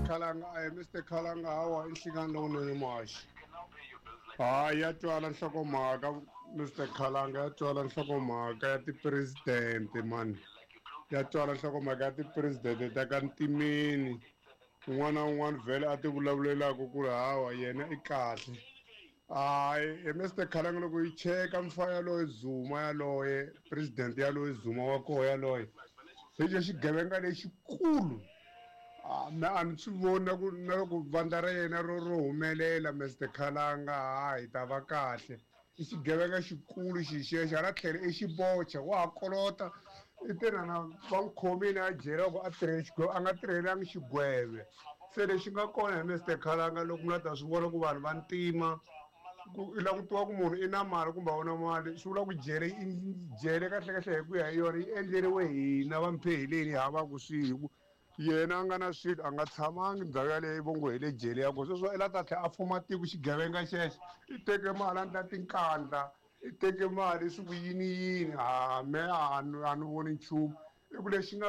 Khalanga a Mr Khalanga hawa i nhlikani lowunene muhaxi. Hayi ya twala nhlokomhaka Mr Khalanga ya twala nhlokomhaka ya ti-president mani ya twala nhlokomhaka ya ti-president ta ka ntimeni un'wana na un'wana vhele a ti vulavulelaka ku ri hawa yena i kahle hayi he Mr Khalanga loko yi cheka mfa yaloye Zuma yaloye president yaloye Zuma wa koho yaloye hi xo xigevenga lexikulu Ah, me a ni swi voni na ku na loko vandla ra yena ro ro humelela Mr Khalanga ha hi ta va kahle i xigevenga xikulu xixexo hala tlhelo i xibocha wa ha kolota i te na na va n'wi khomile a jele ku a tirhele xigweve a nga tirhelangi xigweve se lexi nga kona hi Mr Khalanga loko mi la ta swi vona ku vanhu va ntima ku i lava ku tiva ku munhu i na mali kumbe a wu na mali swi vula ku jele i jele kahlekahle hi ku ya hi yona yi endleriwe hina va mpheheleni hi havaku swihi ku yena a nga na swilo a nga tshamangi ndhawu yaleyo vo ngo hi le jele ya kona sweswo i la ta tlhela a fuma tiko xigevenga xexo i teke mali a ndla tinkandla i teke mali swi ku yini yini ha me a ni a ni voni nchumu i ku lexi nga.